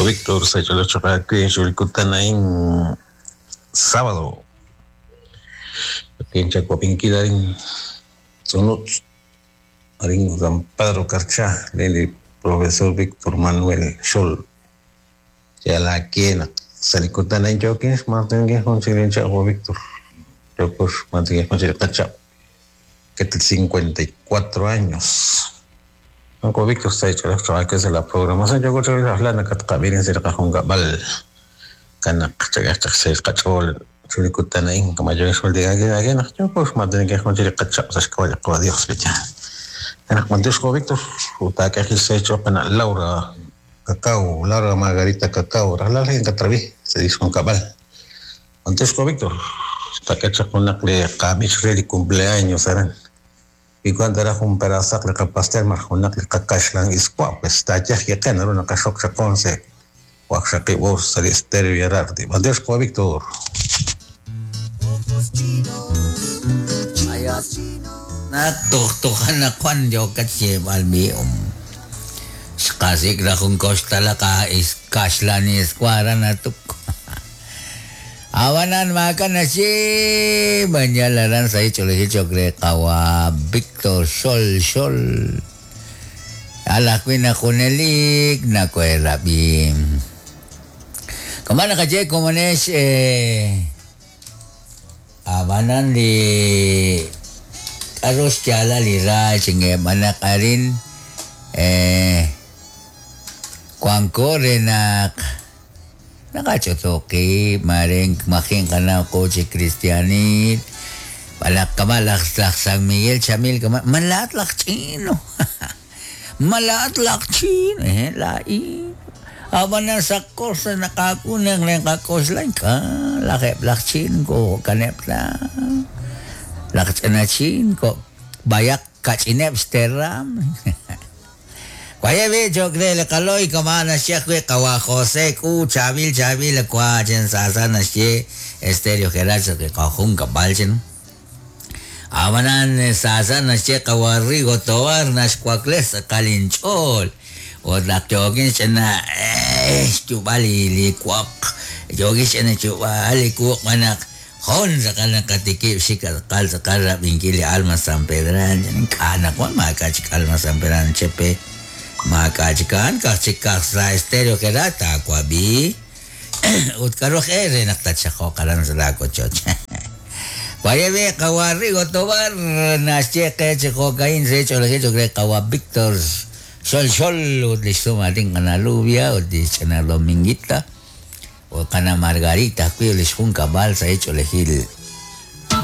Víctor en sábado. En Chacuapinquilarín, Sonut, Arín San Pedro Carchá, el profesor Víctor Manuel Scholl. Ya la quien Salicutana en Joaquín, Martín Víctor. Martín que tiene 54 años. Uncle Víctor está hecho los trabajos de la programación. Yo creo que la plana que también se recajunga bal kanak chagachak se cachol chulikutana in como yo es el día que que no yo pues más que con chile cacha o sea que Dios bicha. Kanak mantus ko Víctor uta que se hecho pana Laura Cacao, Laura Margarita Cacao, la en Catraví, se dice con cabal. Antes ko Víctor, está que con la que camich ready cumpleaños eran. Y cuando era un pedazo de pastel marjonak le kakashlan isqua pues está ya que no una kashok chaconse waxaqi vos sali estéreo y arardi. Antes ko Víctor. Natuhtuhan na kwan yo katsi almi Kasik ra kung kostala ka is kasla ni eskwara na tuk. Awanan maka na si Banyalaran sa ichole chokre kawa Victor Sol Sol. Alak na kunelik na kwerabi. Kamana ka je komanes awanan di aros tiala lira chinge manak arin Kwangko renak nakachotoki maring making kana ko si Cristianit balak kamalak San Miguel Chamil kama malatlak chino malatlak chino lai awan na sa kos na nakakunang lang kakos lang ka laki blak chin ko kanep na lak na chin ko bayak kachinep steram. Kaya be chokre le kaloy kamana siya kwe kawa Jose ku chabil chabil kwa chen sasa na siya estéreo geracho que kajun kabalchen. Abanan sasa na siya kawa Rigo Tobar na skwakles kalinchol. O lakyokin siya na chubali likwak. Yogin siya na chubali kuwak manak. Hon sa kalang katikip si kalkal sa kalap ingkili Alma San Pedran. Kanak wa makachik Alma San Pedran chepe. Makachikan kachikak sa estéreo kerata kwabi. Utkarok ere naktatsa ko karan sa lako choch. Kwayebe kawari gotobar na cheque cheko kain se chole chokre kawa Victor Sol Sol utlisto mating kana Lubia utlis kana Dominguita o kana Margarita kwi ulis jun kabal sa hecho lejil